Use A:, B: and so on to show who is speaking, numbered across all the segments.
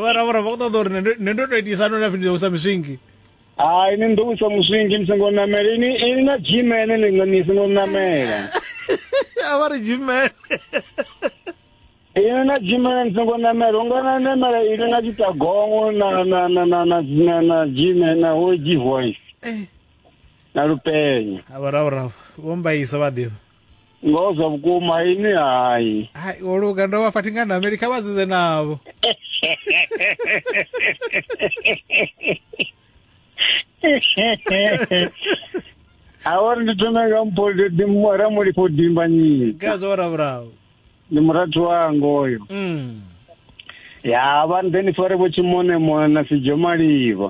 A: Vharavhura vha khou ṱoḓa uri nṋe ndo tou itisa no na pfi ndi ḓo wisa miswingi.
B: Hai ni ndo wisa muswingi ni songo namela ini ini na gmene ni nga ni songo namela.
A: A vha ri gmene.
B: Ini na gmene ni songo namela unga na namela ini na tshitagongo na na na na na na na gmene na ho g voice.
A: Eh.
B: Na lupenyo.
A: A vharavhura vho mbaisa vha ḓivha.
B: Ngoho zwa vhukuma ini hai.
A: Hai wo luga ndo vha fha thi nga nameli kha vha dzidze navho.
B: A uri ndi thome nga mpho ramulifho dimbanyika.
A: Khazwo vharavhura.
B: Ndi murathu wanga oyo. Ya vha nḓe ni fare vho tshimone mone na sijo malivha.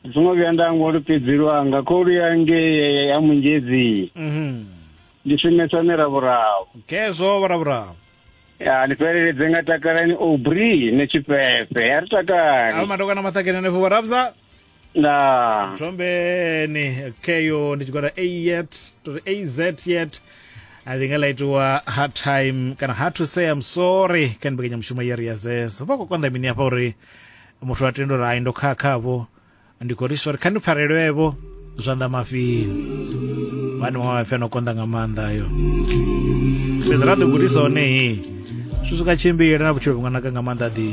B: Ndi songo vhuya nda hangwa lupedzi lwanga kholu ya ngei ya Munzhedzi. Ndi shumesa miravhuravu.
A: Khezwo vharavhura.
B: Ya ni fheleledze nga takalani Aubrey ne tshifhefe. Ya ri takali.
A: Avha madokwana maṱakeni hanefho vharabza.
B: Ndaa.
A: Thombeni keyo ndi tshigwada A yet to ri AZ yet I think ḽa itiwa hard time kana hard to say I'm sorry kha mbekanyamushumo ya ri ya zezo vha khou konḓa mini hafha uri muthu a tenda uri ai ndo khakhavho ndi khou ri sorry kha ndi pfarelwevho zwanḓa mafhini vhani maṅwe maipfi ano konḓa nga maanḓa ayo fhedzi ra ḓi gudisa hone hi zwi swika tshimbila na vhutshilo vhu nga naka nga maanḓa ḓi.